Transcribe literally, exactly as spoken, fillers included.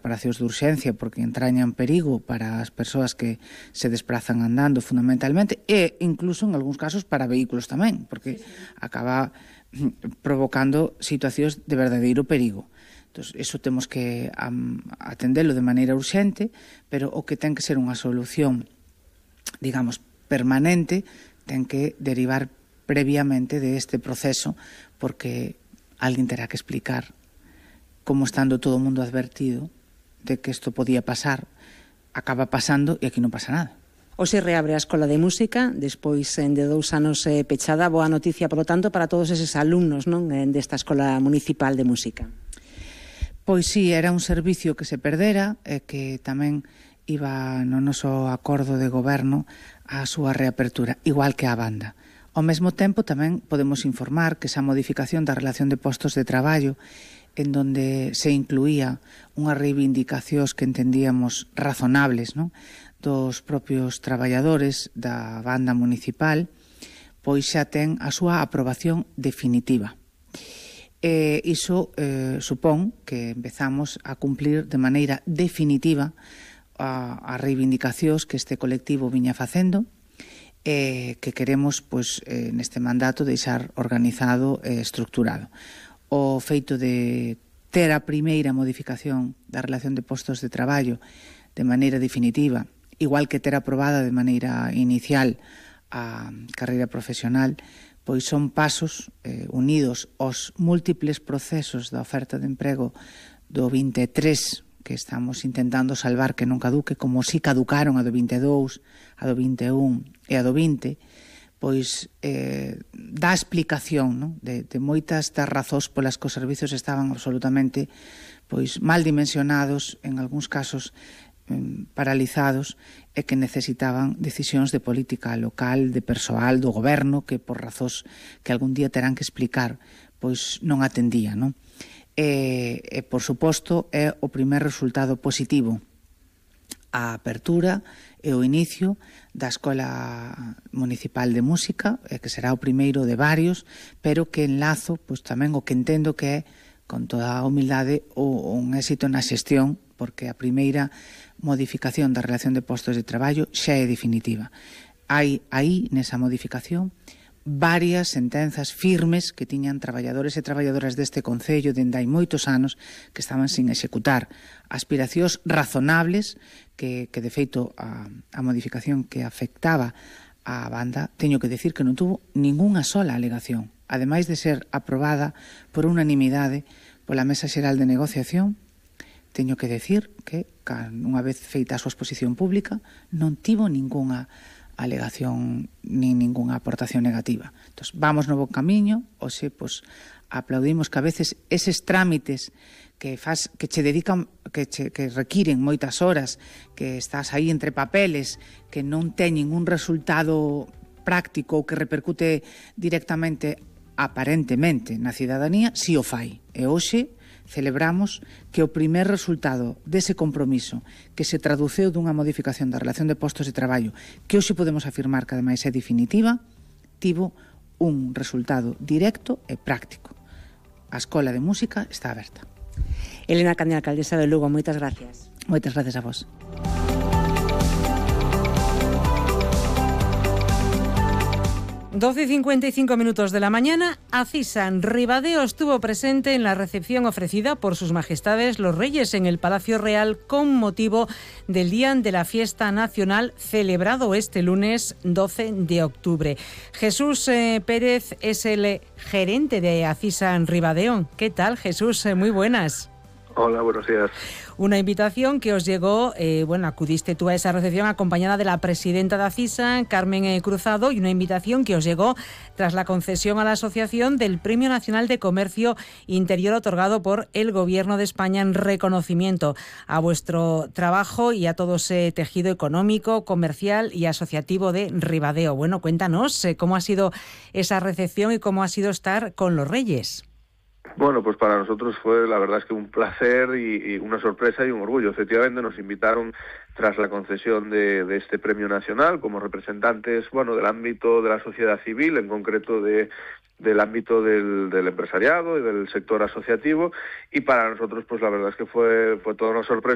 separacións de urxencia porque entrañan perigo para as persoas que se desplazan andando fundamentalmente, e incluso en algúns casos para vehículos tamén, porque acaba provocando situacións de verdadeiro perigo. Entón, iso temos que um, atendelo de maneira urxente, pero o que ten que ser unha solución, digamos, permanente, ten que derivar previamente de este proceso, porque alguén terá que explicar como estando todo o mundo advertido de que isto podía pasar, acaba pasando e aquí non pasa nada. Hoxe reabre a Escola de Música, despois de dous anos pechada. Boa noticia, por lo tanto, para todos eses alumnos, non, desta Escola Municipal de Música. Pois sí, era un servicio que se perdera e que tamén iba no noso acordo de goberno a súa reapertura, igual que a banda. Ao mesmo tempo, tamén podemos informar que esa modificación da relación de postos de traballo, en donde se incluía unhas reivindicacións que entendíamos razonables, non, dos propios traballadores da banda municipal, pois xa ten a súa aprobación definitiva. E iso eh, supón que empezamos a cumplir de maneira definitiva a, a reivindicacións que este colectivo viña facendo, e que queremos, pois, eh, neste mandato deixar organizado e estructurado. O feito de ter a primeira modificación da relación de postos de traballo de maneira definitiva, igual que ter aprobada de maneira inicial a carreira profesional, pois son pasos eh, unidos aos múltiples procesos da oferta de emprego do vinte e tres que estamos intentando salvar que non caduque, como si caducaron a do vinte e dous, a do vinte e un e a do vinte, pois eh, dá explicación, non? De, de moitas das razóns polas que os servizos estaban absolutamente pois mal dimensionados, en algúns casos eh, paralizados, e que necesitaban decisións de política local, de persoal, do goberno, que por razóns que algún día terán que explicar, pois non atendía, non? E, e por suposto, é o primer resultado positivo a apertura e o inicio da Escola Municipal de Música, e que será o primeiro de varios, pero que enlazo pois tamén o que entendo que é, con toda a humildade, o, un éxito na xestión, porque a primeira modificación da relación de postos de traballo xa é definitiva. Hai aí, nesa modificación, varias sentenzas firmes que tiñan traballadores e traballadoras deste concello dende hai moitos anos que estaban sin executar, aspiracións razonables que, que de feito a, a modificación que afectaba a banda, teño que decir que non tuvo ningunha sola alegación, ademais de ser aprobada por unanimidade pola Mesa Xeral de Negociación. Teño que decir que, unha vez feita a súa exposición pública, non tivo ningunha alegación nin ningunha aportación negativa. Entón, vamos no bon camiño, oxe, pois, aplaudimos que a veces eses trámites que faz, que che dedican, que, che, que requiren moitas horas, que estás aí entre papeles, que non teñen un resultado práctico ou que repercute directamente, aparentemente, na cidadanía, si o fai. E hoxe celebramos que o primer resultado dese compromiso que se traduceu dunha modificación da relación de postos de traballo, que hoxe podemos afirmar que ademais é definitiva, tivo un resultado directo e práctico. A Escola de Música está aberta. Elena Cande, alcaldesa de Lugo, moitas gracias. Moitas gracias a vos. doce y cincuenta y cinco minutos de la mañana, Acisa en Ribadeo estuvo presente en la recepción ofrecida por sus majestades los reyes en el Palacio Real con motivo del Día de la Fiesta Nacional celebrado este lunes doce de octubre. Jesús eh, Pérez es el gerente de Acisa en Ribadeo. ¿Qué tal, Jesús? Eh, muy buenas. Hola, buenos días. Una invitación que os llegó, eh, bueno, acudiste tú a esa recepción acompañada de la presidenta de Acisa, Carmen eh, Cruzado, y una invitación que os llegó tras la concesión a la asociación del Premio Nacional de Comercio Interior otorgado por el Gobierno de España en reconocimiento a vuestro trabajo y a todo ese tejido económico, comercial y asociativo de Ribadeo. Bueno, cuéntanos eh, cómo ha sido esa recepción y cómo ha sido estar con los reyes. Bueno, pues para nosotros fue, la verdad es que un placer y, y una sorpresa y un orgullo. Efectivamente nos invitaron tras la concesión de, de este premio nacional como representantes, bueno, del ámbito de la sociedad civil, en concreto de del ámbito del, del empresariado y del sector asociativo, y para nosotros pues la verdad es que fue fue toda una sorpresa